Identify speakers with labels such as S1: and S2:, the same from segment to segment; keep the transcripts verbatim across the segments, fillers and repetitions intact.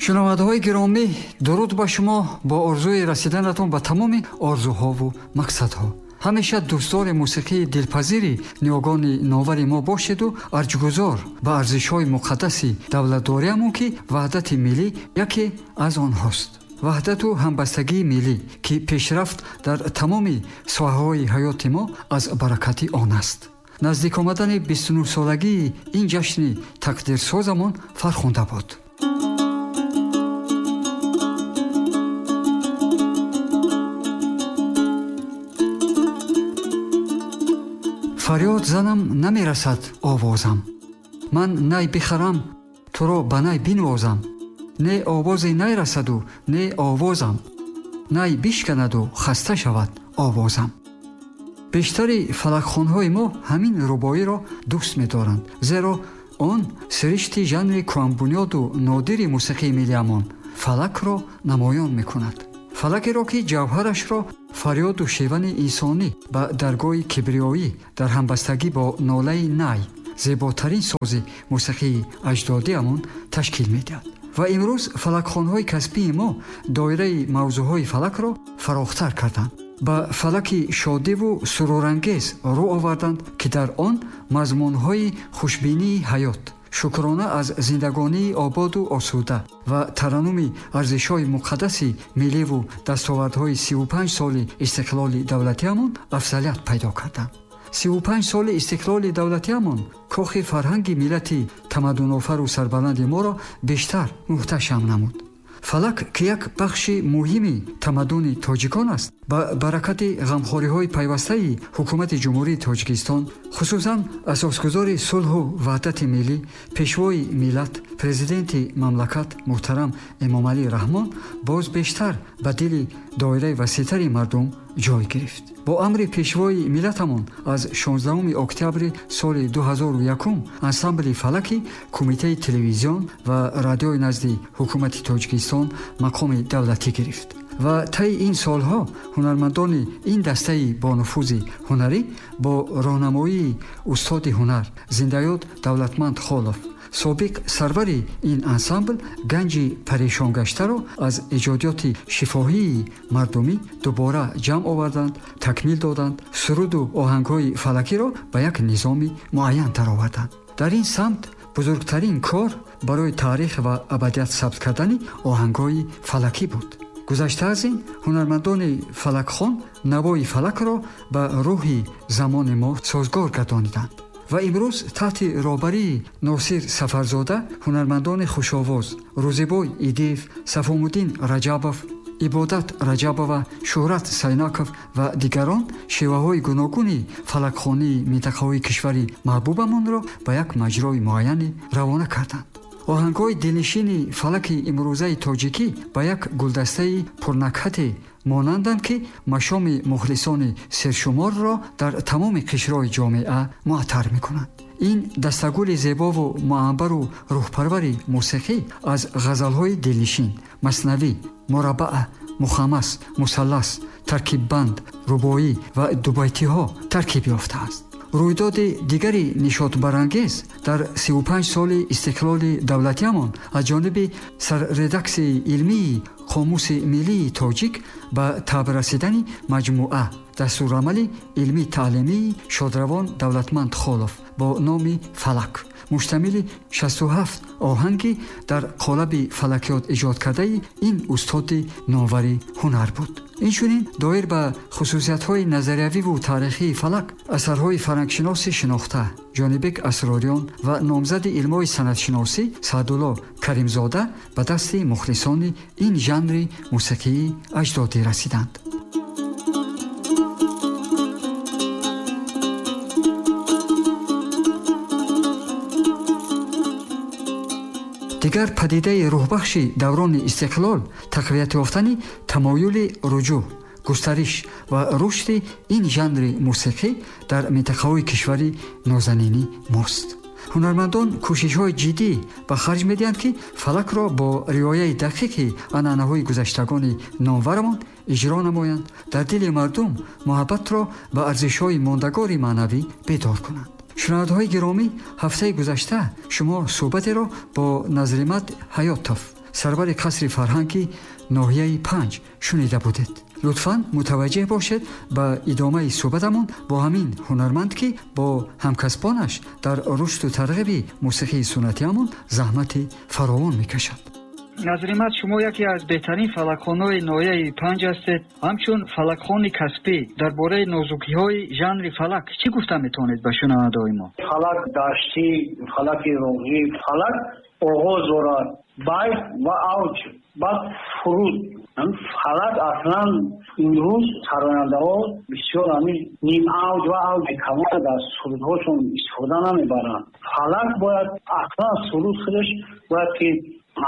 S1: Шунавандаҳои гиромӣ, дуруд ба шумо бо орзуи расиданатон ба тамоми орзуҳову мақсадҳо. Ҳамеша дӯстдори мусиқии дилпазири ниёгони новари мо бошеду арҷгузор ба арзишҳои муқаддаси давлатдориамон, ки ваҳдати миллӣ яке аз онҳост. Ваҳдату ҳамбастагии миллӣ, ки пешрафт дар тамоми соҳаҳои ҳаёти мо аз баракати он аст. Наздик омадани бисту нӯҳсолагии ин ҷашни тақдирсозамон фархунда буд. Фарёд занам намерасад овозам, ман най бихарам, туро ба най бинвозам, не овозе най расаду не овозам, най бишканаду хаста шавад овозам. Бештари фалакхонҳои мо ҳамин рубоиро дӯст медоранд, зеро он сиришти жанри кӯҳанбунёду нодири мусиқии миллиамон фалакро намоён мекунад. Фалакеро, ки ҷавҳарашро фарёду шевани инсонӣ ба даргоҳи кибриёӣ дар ҳамбастагӣ бо нолаи най, зеботарин сози мусиқии аҷдодиамон ташкил медиҳад. Ва имрӯз фалакхонҳои касбии мо доираи мавзӯъҳои фалакро фарохтар карданд, ба фалаки шодиву сурурангез рӯ оварданд, ки дар он мазмунҳои хушбинии ҳаёт, шукрона аз зиндагонии ободу осуда ва тараннуми арзишҳои муқаддаси милливу дастовардҳои сиву панҷ соли истиқлоли давлатиамон афзалият пайдо карданд. Сиву панҷ соли истиқлоли давлатиамон кохи фарҳанги миллати тамаддунофару сарбаланди моро бештар муҳташам намуд. Фалак, ки як бахши муҳими тамаддуни тоҷикон аст, ба баракати ғамхориҳои пайвастаи ҳукумати Ҷумҳурии Тоҷикистон, хусусан асосгузори сулҳу ваҳдати миллӣ, пешвои миллат, президенти мамлакат муҳтарам Эмомалӣ Раҳмон, боз бештар ба дили доираи васеътари мардум ҷой гирифт. Бо амри пешвои миллатамон аз шонздаҳуми октябри соли ду ҳазору якум ансамбли фалаки Кумитаи телевизион ва радиои назди ҳукумати Тоҷикистон мақоми давлатӣ гирифт. Ва таи ин солҳо ҳунармандони ин дастаи бонуфузи ҳунарӣ бо роҳнамоии устоди ҳунар зиндаёд Давлатманд Холов, собиқ сарвари ин ансамбл, ганҷи парешонгаштаро аз эҷодиёти шифоҳии мардумӣ дубора ҷамъ оварданд, такмил доданд, суруду оҳангҳои фалакиро ба як низоми муайян дароварданд. Дар ин самт бузургтарин кор барои таърих ва абадият сабт кардани оҳангҳои фалакӣ буд. Гузашта аз ин, ҳунармандони фалакхон навои фалакро ба рӯҳи замони мо созгор гардониданд. Ва имрӯз таҳти роҳбарии Носир Сафарзода ҳунармандони хушовоз Рӯзибой Идиев, Сафомуддин Раҷабов, Ибодат Раҷабова, Шӯҳрат Сайнаков ва дигарон шеваҳои гуногуни фалакхонии минтақаҳои кишвари маҳбубамонро ба як маҷрои муайяне равона карданд. Оҳангҳои дилнишини фалаки имрӯзаи тоҷикӣ ба як гулдастаи пурнакҳате монанданд, ки машоми мухлисони сершуморро дар тамоми қишрҳои ҷомеа муаттар мекунанд. Ин дастагули зебову муамбару рӯҳпарвари мусиқӣ аз ғазалҳои дилнишин, маснавӣ, мураббаъ, мухаммас, мусаллас, таркиббанд, рубоӣ ва дубайтиҳо таркиб ёфтааст. Рӯйдоди дигари нишотбарангез дар сиву панҷ соли истиқлоли давлатиамон аз ҷониби сарредаксияи илмии Қомуси миллии тоҷик ба таб расидани маҷмӯа дастурамали илмии таълимии шодравон Давлатманд Холов бо номи Фалак, муштамили шасту ҳафт оҳанги дар қолаби фалакиёт эҷод кардаи ин устоди номвари ҳунар буд. Инчунин доир ба хусусиятҳои назариявиву таърихии фалак асарҳои фарҳангшиноси шинохта Ҷонибек Асрориён ва номзади илмҳои санъатшиносӣ Саъдулло Каримзода ба дасти мухлисони ин жанри мусиқии аҷдодӣ расиданд. Дигар падидаи рӯҳбахши даврони истиқлол тақвият ёфтани тамоюли руҷӯъ, густариш ва рушди ин жанри мусиқӣ дар минтақаҳои кишвари нозанинӣ мост. Ҳунармандон кӯшишҳои ҷиддӣ ба харҷ медиҳанд, ки фалакро бо риояи дақиқи анъанаҳои гузаштагони номварамон иҷро намоянд, дар дили мардум муҳаббатро ба арзишҳои мондагори маънавӣ бедор кунанд. Шунавандаҳои гиромӣ, ҳафтаи гузашта шумо суҳбатеро бо Назримат Ҳаётов, Сарвари қасри фарҳанги ноҳияи панҷ шунида будед. Лутфан мутаваҷҷеҳ бошед ба идомаи суҳбатамон бо ҳамин ҳунарманд, ки бо ҳамкасбонаш дар рушду тарғиби мусиқии суннатиамон заҳмати фаровон мекашад. Назримат, шумо яке аз беҳтарин фалакхонҳои ноҳияи панҷ ҳастед. Ҳамчун фалакхони касбӣ дар бораи нозукиҳои жанри фалак чӣ гуфта метавонед ба шунавандаҳои мо?
S2: Фалак даштӣ, фалаки роғӣ, фалак оғоз дорад, байт ва авҷ, баъд фуруд. Фалак аслан имрӯз сарояндаҳо бисёр ҳамин ним авҷ ва авҷи калон дар сурудҳошон истифода намебаранд. Фалак бояд аслан суруд худаш бояд ки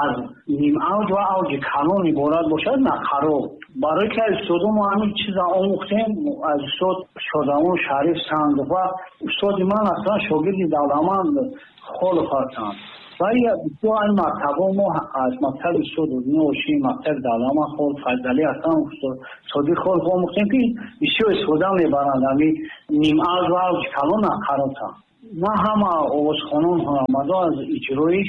S2: аз ним авҷ ва авҷи калон иборат бошад, на қарор. Барои ки аз устодо мо ҳамин чиза омӯхтем, аз устод Шодамон Шариф Сандов ва устоди ман аслан шогирди Давламанд Холов ҳастанд. Ва бисёр ин мактабҳо мо аз мактаби устод Одина Ошим, мактаби Давламанд Холов, Файзалӣ ҳасан, устод Содиқ Холов омӯхтем, ки бисёр истифода мебаранд ҳамин ним авҷ ва авҷи калон на қарорта. На ҳама овозхонон ҳунармандон аз иҷрои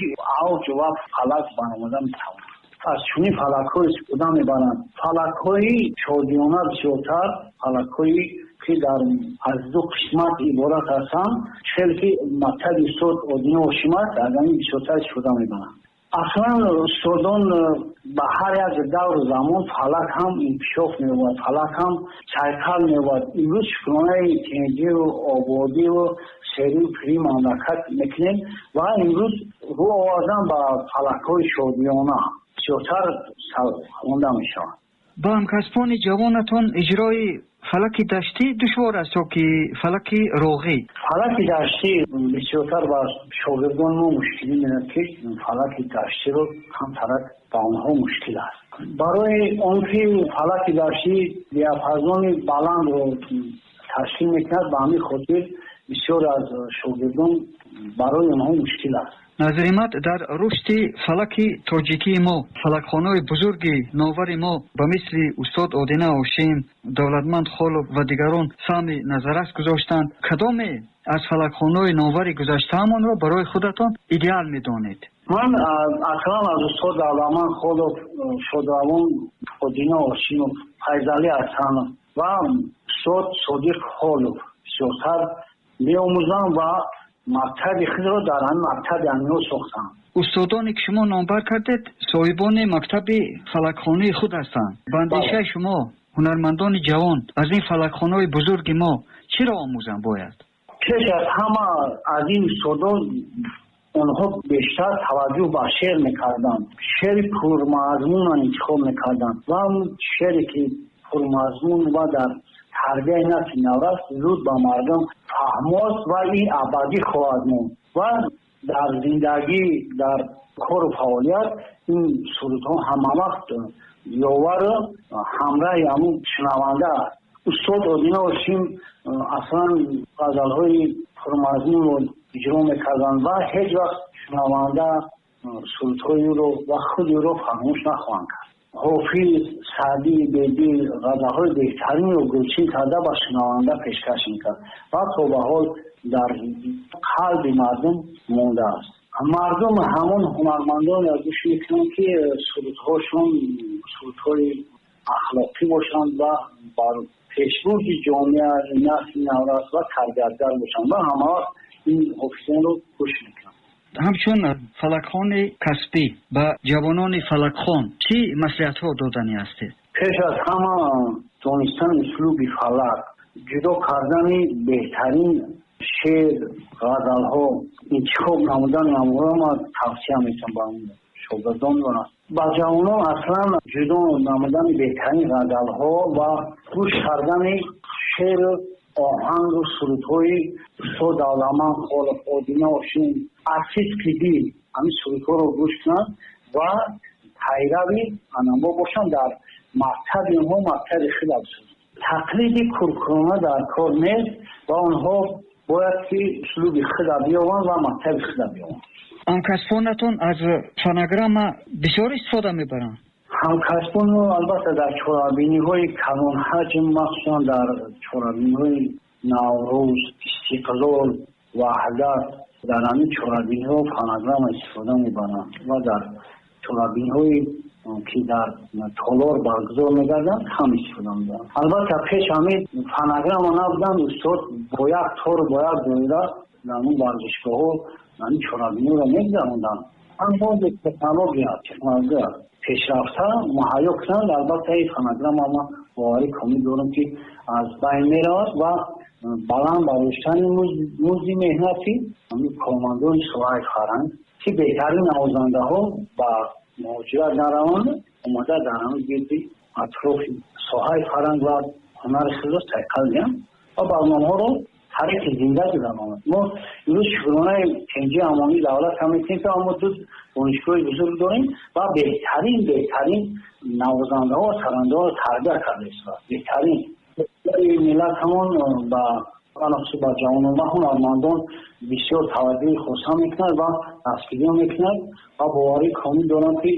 S2: авҷ ва фалак баромада метавонанд. Аз чунин фалакҳо истифода мебаранд. Фалакҳои шодиёна бисёртар, фалакҳое ки дар аз ду қисмат иборат ҳастанд, хеле ки мактаби устод Одина Ошим аст, аз ҳамин бисёртар истифода мебаранд. Аслан устодон ба ҳар як давру замон фалак ҳам инкишоф меёбад, фалак ҳам сайқал меёбад. Имрӯз шукронаи тинҷиву ободиву серию пирии мамлакат мекунем ва имрӯз рӯ овардан ба фалакҳои шодиёна бисёртар хонда мешаванд.
S1: Ба ҳамкасбони ҷавонатон иҷрои фалаки даштӣ душвор аст ё ки фалаки роғӣ?
S2: Фалаки даштӣ бисёртар ба шогирдони мо мушкилӣ меояд, ки фалаки даштиро камтарак ба онҳо мушкил аст. Барои он ки фалаки даштӣ диапазони баландро ташкил мекунад, ба ҳамин хотир бисёр аз шогирдон барои онҳо мушкил аст.
S1: Назримат, дар рушди фалаки тоҷикии мо фалакхонаҳои бузурги новари мо ба мисли устод Одина Ошим, Давлатманд Холов ва дигарон саҳми назаррас гузоштанд. Кадоме аз фалакхонаҳои новари гузаштаамонро барои худатон идеал медонед?
S2: Ман аслан аз устод Давлатманд Холов, Шодравон Одина Ошимов, Файзалӣ Ҳасанов ва устод Содиқ Холов бисёртар меомӯзам ва мактаби худро дар ҳамин мактаби ҳаминҳо сохтам.
S1: Устодоне ки шумо номбар кардед соҳибони мактаби фалакхонаи худ ҳастанд. Ба андешаи шумо ҳунармандони ҷавон аз ин фалакхонаҳои бузурги мо чиро омӯзанд бояд?
S2: Пеш аз ҳама аз ин устодон онҳо бештар таваҷҷӯҳ ба шеър мекарданд, шеъри пурмазмунро интихоб мекарданд ва шеъре ки пурмазмун ва дар тарбияи насли наврас зуд ба мардум фаҳмост ва ин абадӣ хоҳад монд ва дар зиндагӣ, дар кору фаъолият ин сурудҳо ҳамавақт ёвару ҳамроҳи ҳамун шунаванда аст. Устод Одина Ошим аслан ғазалҳои пурмазмунро иҷро мекарданд ва ҳеҷ вақт шунаванда сурудҳои ӯро ва худи ӯро фаромӯш нахоҳанд кард. Ҳофиз, Саъдӣ, Бедил ғазалҳои беҳтаринро гулчин карда ба шунаванда пешкаш мекард ва то ба ҳол дар қалби мардум мондааст. Мардум ҳамон ҳунармандонро гӯш мекунанд, ки сурудҳошон сурудҳои ахлоқӣ бошанд ва бар пешбурди ҷомеа, насли наврас ва тарбиятгар бошанд ва ҳамавақт ин ҳофизонро гӯш мекунанд.
S1: Ҳамчун фалакхони касбӣ ба ҷавонони фалакхон чӣ маслиҳатҳо доданӣ ҳастед?
S2: Пеш аз ҳама донистани услуби фалак, ҷудо кардани беҳтарин шеър, ғазалҳо, интихоб намудани онҳоро ман тавсия метавам ба шогирдон ва ба ҷавонон аслан ҷудо намудани беҳтарин ғазалҳо ва гӯш кардани шеъру оҳангу сурудҳои устод Давлатманд Холов, Одина Ошим, артист дил ҳамин сурудҳоро гӯш кунанд ва пайрави анамо бошанд, дар мактаби онҳо мактаби худро бисозанд. Тақлиди куркурона дар кор нест ва онҳо бояд ки услуби худро биёванд ва мактаби худро биёванд.
S1: Ҳамкасбонатон аз фонограмма бисёр истифода мебаранд?
S2: Ҳамкасбонро албатта дар чорабиниҳои калонҳаҷм, махсусан дар чорабиниҳои Наврӯз, Истиқлол, Ваҳдат, дар ҳамин чорабиниҳо фонограмма истифода мебаранд ва дар чорабиниҳое ки дар толор баргузор мегарданд кам истифода мебаранд. Албатта пеш ҳамин фонограмма набуданд, устод бо як тор, бо як доира дар он варзишгоҳҳо ҳамин чорабиниҳоро мегузаронданд. Аммо технология технология пешрафта муҳайё кунанд, албатта ин фонограмма ман боварӣ комил дорам ки аз байн меравад ва баланд бардоштани музди меҳнати ҳамин кормандони соҳаи фарҳанг ки беҳтарин навозандаҳо ба муҳоҷират нараванд, омада дар ҳамин гирди атрофи соҳаи фарҳанг ва ҳунари худро сайқал диҳанд ва барномаҳоро тариқи зинда гузаронанд. Мо имрӯз шукронаи тинҷи амонии давлат ҳам мекунем ки мо ду донишгоҳи бузург дорем ва беҳтарин беҳтарин навозандаҳо ва сарандаҳоро тарбия карда истодаанд. Беҳтарин миллат ҳамон ба алахусус ба ҷавонон ва ҳунармандон бисёр таваҷҷӯҳи хоса мекунад ва дастгирӣ мекунад ва боварӣ комил дорам ки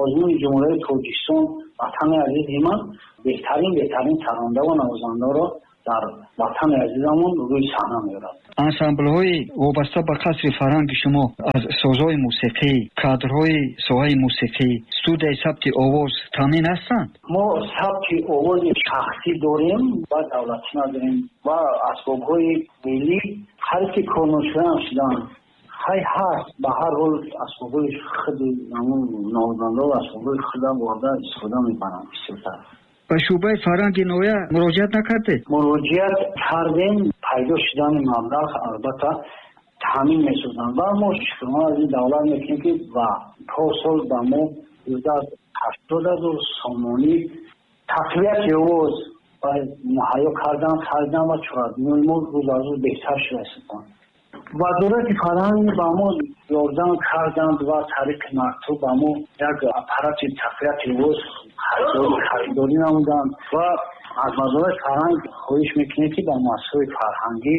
S2: озмуни Ҷумҳурии Тоҷикистон ватани азизи ман беҳтарин беҳтарин саранда ва навозандаро дар ватани азизамон рӯи саҳна меорад.
S1: Ансамблҳои вобаста ба қасри фарҳанги шумо аз созҳои мусиқӣ, кадрҳои соҳаи мусиқӣ, студияи сабти овоз таъмин ҳастанд?
S2: Мо сабти овози шахсӣ дорем ва давлатӣ надорем ва асбобҳои миллӣ ҳар ки корношоям шуданд ҳай ҳаст, ба ҳар ҳол асбобҳои худи ҳамон навозандаҳо асбобҳои худам бурда истифода мебаранд бисёртар.
S1: Ба шӯъбаи фарҳанги ноҳия муроҷиат накардед?
S2: Муроҷиат кардем, пайдо шудани маблағ албатта таъмин месозанд ва мо шукрона аз ин давлат мекунем ки ва порсол ба мо зиёда аз ҳаштод ҳазор сомонӣ тақвияти овоз муҳайё кардан, харидан ва чорабиниҳои мо рӯз аз рӯз беҳтар шуда истодаанд. Вазорати фарҳанг ба мо ёрдам карданд ва тариқи мактуб ба мо як аппарати тақвияти овоз харидорӣ намуданд ва аз вазорати фарҳанг хоҳиш мекунем ки ба муассисаҳои фарҳангӣ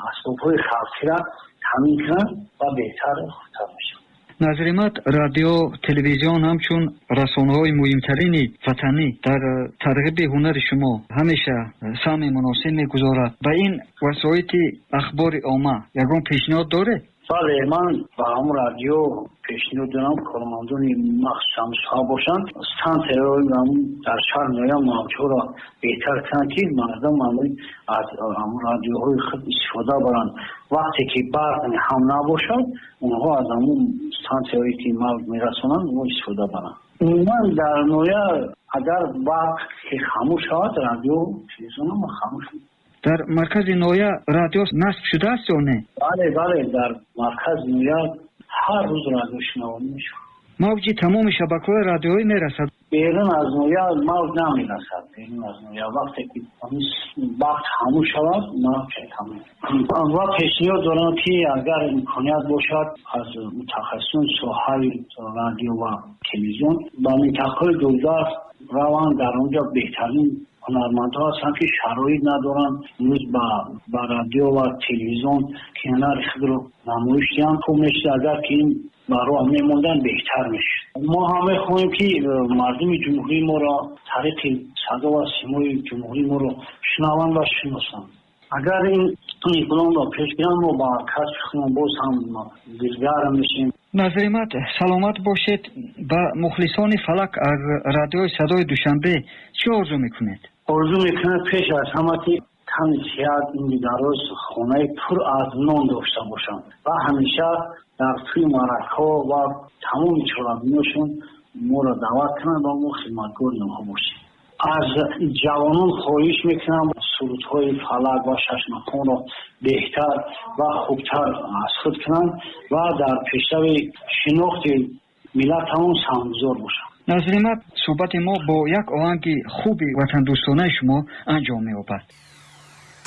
S2: асбобҳои халқиро таъмин кунанд ва беҳтар хубтар мешавад.
S1: Назримат, радио, телевизион ҳамчун расонаҳои муҳимтарини ватанӣ дар тарғиби ҳунари шумо ҳамеша саҳми муносиб мегузорад. Ба ин васоити ахбори омма ягон пешниҳод доред?
S2: Бале, ман ба ҳамон радио пешниҳод дорам кормандони махсусан соҳа бошанд, стансияҳои дар шаҳр ноҳия мавҷҳоро беҳтар кунанд ки мардум аз ҳамон радиоҳои худ истифода баранд. Вақте ки барқ ҳам набошад, онҳо аз ҳамон стансияҳое ки мавҷ мерасонанд онҳо истифода баранд. Умуман дар ноҳия агар барқ ки хомӯш шавад, радио телевизион ҳам хомӯш мешавад.
S1: Дар маркази ноҳия радио насб шудааст ё не?
S2: Бале, бале, дар маркази ноҳия ҳар рӯз радио шунавонӣ мешавад.
S1: Мавҷи тамоми шабакаҳои радиоӣ мерасад?
S2: Берун аз ноҳия мавҷ намерасад. Берун аз ноҳия вақте ки вақт хомӯш шавад, мавҷ тамом. Ва пешниҳод дорам ки агар имконият бошад аз мутахассисони соҳаи радио ва телевизион ба минтақаҳои дурдаст раванд, дар онҷо беҳтарин ҳунармандҳо ҳастанд ки шароит надоранд имрӯз ба ба радио ва телевизион ки ҳунари худро намоиш диҳанд. Хуб мешуд агар ки ин ба роҳ мемонданд, беҳтар мешуд. Мо ҳам мехоҳем ки мардуми ҷумҳурии моро тариқи садо ва симои ҷумҳурии моро шунаванд ва шиносанд. Агар ин иқдомро пеш гиранд, мо ба касби худамон боз ҳам дилгарм мешавем.
S1: Назримат, саломат бошед. Ба мухлисони фалак аз радиои садои Душанбе чӣ орзу мекунед?
S2: Орзу мекунад пеш аз ҳама ки тани сиҳат, умри дароз, хонаи пур аз нон дошта бошанд ва ҳамеша дар тӯи маъракаҳо ва тамоми чорабиниҳошон моро даъват кунанд ва мо хидматгори онҳо бошем. Аз ҷавонон хоҳиш мекунам сурудҳои фалак ва шашмақомро беҳтар ва хубтар аз худ кунанд ва дар пешрави шинохти миллатамон саҳмгузор бошанд.
S1: Назримат, суҳбати мо бо як оҳанги хуби ватандӯстонаи шумо анҷом меёбад.